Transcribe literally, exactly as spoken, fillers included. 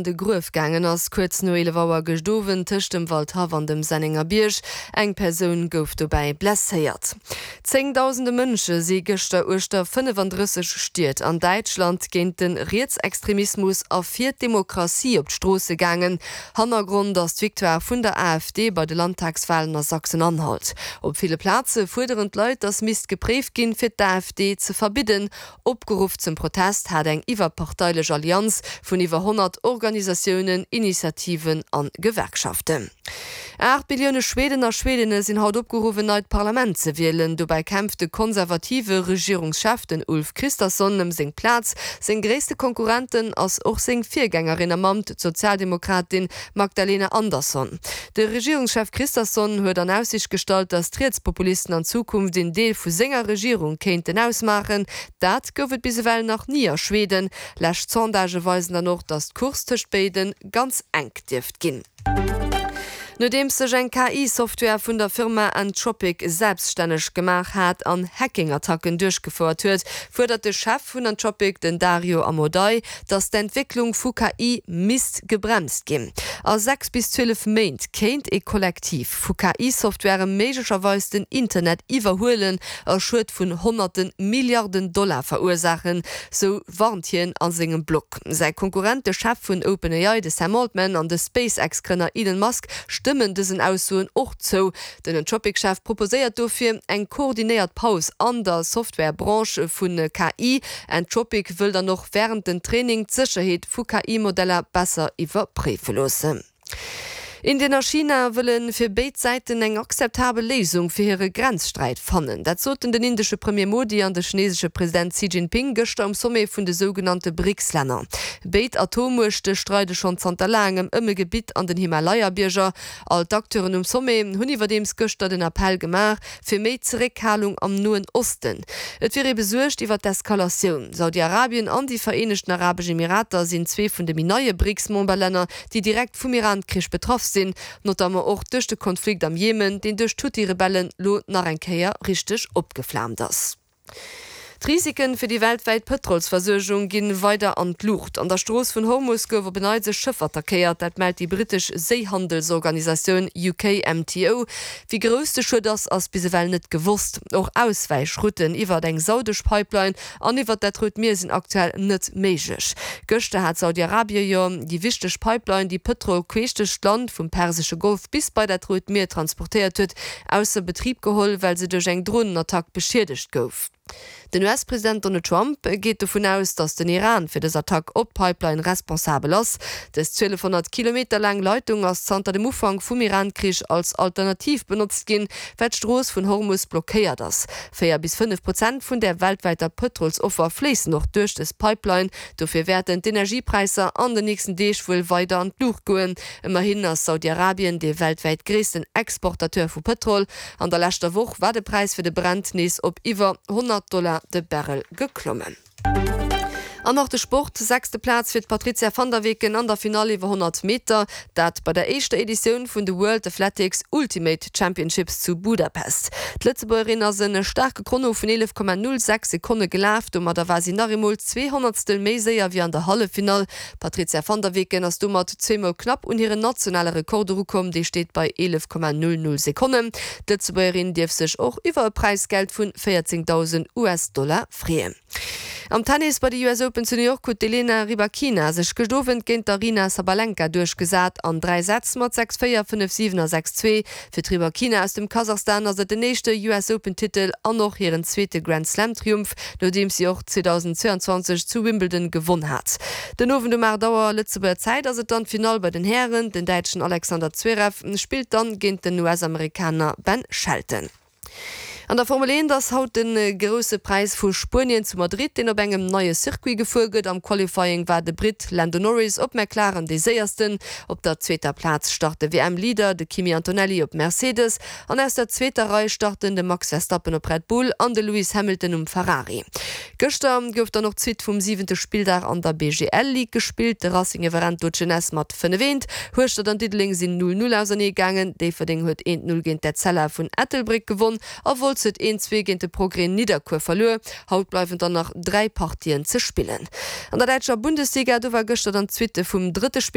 de Gruef gaangen ass, kuerz no eelef Auer gëscht Owend tëscht dem Waldhaff an dem Sennengerbierg. Eng Persoun gouf dobäi blesséiert. Zéngdausende Mënsche si gëschter uechter fënnefandrësseg Stied an Däitschland géint de Rietsextremismus a fir d'Demokratie op d'Stroosse gaangen. Hannergrond ass d'Victoire vun der A F D bei de Landtagswalen a Sachsen-Anhalt. Op ville Plaze fuerderen d'Leit, datt misst gepréift ginn, fir d'A F D ze verbidden. Opgeruff zum Protest hat eng iwwerparteilech Allianz vun iwwer honnert Organisatiounen, Initiativen an Gewerkschaften. Aacht Millioune Schweden a Schwedinne sinn haut opgeruff en neit Parlament ze wielen. Dobäi kämpft de konservative Regierungschef, den Ulf Kristersson, ëm seng Plaz. Seng gréisste Konkurrentin ass och seng Virgängerin am Amt, d'Sozialdemokratin Magdalena Andersson. De Regierungschef Kristersson huet an Aussiicht gestallt, datt d'Rietspopulisten an Zukunft een Deel vu senger Regierung kéinten ausmaachen. Dat gouf et bis ewell nach ni a Schweden. Lescht Sondagë weisen dann och, datt d'Course tëscht béide ganz enk dierft ginn. Nodeems sech eng K I-Software vun der Firma Anthropic selbststänneg gemaach hat an Hacking-Attacken duerchgefouert huet, fuerdert de Chef vun Anthropic, den Dario Amodei, datt d'Entwécklung vu K I misst gebremst ginn. A sechs bis zwielef Méint kéint ee Kollektiv vu K I-Software méiglecherweis den Internet iwwerhuelen a Schued vun honnerte Milliarden Dollar verursaachen, sou warnt hien a sengem Blog. Säi Konkurrent, de Chef vun OpenAI, de Sam Altman, an de SpaceX-Grënner Elon Musk stëmmen dësen Aussoen och zou. Den Anthropic-Chef proposéiert dofir eng koordinéiert Paus an der Software-Branche vu K I. Anthropic wëll dann och wärend dem Training d'Sécherheet vu K I-Modeller besser iwwerpréife loossen. Indien a China wëlle fir béid Säiten eng akzeptabel Léisung fir hire Grenzsträit fannen. Dat soten den indesche Premier Modi an de chinesesche President Xi Jinping gëschter um Sommet vun de sougenannte BRICS-Länner. Béid Atommuechte streide schonn zanter laangem ëm e Gebitt an den Himalaya-Bierger. All d'Acteuren um Sommet hunn iwwerdeems gëschter den Appell gemaach fir méi Zeréckhalung am Noen Osten. Et wier ee besuergt iwwer d'Eskalatioun. Saudi-Arabien an déi Vereenegten Arabesch Emirater sinn zwee vun de méi neie BRICS-Memberlänner, déi direkt vum Iran-Krich betraff sinn, notamment och duerch de Konflikt am Jemen, deen duerch d'Huthi-Rebellen lo nach eng Kéier richteg opgeflaamt ass. D'Risiken fir déi weltwäit Pëtrolsversuergung ginn weider an d'Luucht. An der Strooss vun Hormus gouf op en Neits e Schëff attackéiert, dat mellt déi brittesch Séihandelsorganisatioun U K M T O. Wéi grouss de Schued ass, ass bis ewell net gewosst. Och Auswäichrouten iwwer eng saudesch Pipeline an iwwer dat Rout Mier sinn aktuell net méiglech. Gëschter hat Saudi-Arabie jo déi wichteg Pipeline, déi Pëtrol queesch duerch d'Land vum Persesche Golf bis bei dat Rout Mier transportéiert huet, ausser Betrib geholl, well se duerch eng Dronenattack beschiedegt gouf. Den U S-President Donald Trump geet dovun aus, datt den Iran fir dës Attack op d'Pipeline responsabel ass. Dës zwielefhonnert Kilometer laang Leitung ass zanter dem Ufank vum Iran-Krich als Alternativ benotzt ginn, well d'Strooss vun Hormus blockéiert ass. Véier bis fënnef Prozent vun der weltwäiter Pëtrolsoffer fléissen och duerch dës Pipeline. Dofir wäerten d'Energiepräisser an den nächsten Deeg wuel weider an d'Luucht goen. Ëmmerhin ass Saudi-Arabien dee weltwäit gréissten Exportateur vu Pëtrol. An der leschter Woch war de Präis fir de Brent nees op iwwer honnert Dollar de Barrel geklommen. An nach de Sport, Sechste Plaz fir d'Patrizia van der Weken an der Finall iwwer honnert Meter, dat bei der éischter Editioun vun de World Athletics Ultimate Championships zu Budapest. D'Lëtzebuergerin ass e staarke Chrono vun eelef Komma null sechs Sekonne gelaf, domadder war si nach eemol zwee Honnertstel méi séier wéi an der Halleffinall. D'Patrizia van der Weken ass domat zweemol knapp un hiren nationale Rekord erukomm, dee steet bei eelef Komma null null Sekonnen. D'Lëtzebuergerin dierf sech och iwwer e Präisgeld vun véierzéngdausend U S-Dollar freeën. Am Tennis bei de U S Open zu New York huet d'Elena Rybakina sech gëscht Owend géint d'Aryna Sabalenka duerchgesat an dräi Sätz mat sechs véier, fënnef siwen a sechs zwee. Fir d'Rybakina aus dem Kasachstan ass et den éischte U S Open Titel an och hiren zweete Grand Slam Triumph, nodeems si och zweedausendzweianzwanzeg zu Wimbledon gewonn hat. Den Owend um aacht Auer Lëtzebuerger Zäit ass et dann d'Finall bei den Hären, den Däitschen Alexander Zverev spillt dann géint den U S-Amerikaner Ben Shelton. An der Formel eent ass haut de Grousse Präis vu Spuenien zu Madrid, deen op engem neie Circuit gefuer gëtt. Am Qualifying war de Britt Lando Norris op McLaren dee Séiersten. Op der zweeter Plaz start de W M-Leader, de Kimi Antonelli op Mercedes. An aus der zweeter Rei starten de Max Verstappen op Red Bull an de Lewis Hamilton um Ferrari. Gëschter gouf dann och d'Suite vum siwente Spilldag an der B G L Ligue gespillt. De Racing iwwerrennt do d'Jeunesse mat fënnef eent. Hueschtert an Diddeleng sinn null null ausernee gaangen. Déifferdeng huet eent null géint d'Etzella vun Ettelbréck gewonn a Wolz huet een, zwee géint de Progrès Nidderkuer verluer. Haut bleiwen dann nach dräi Partien ze spillen. An der däitscher Bundesliga, do war gëschter dann d'Suite vum drëtte Spilldag.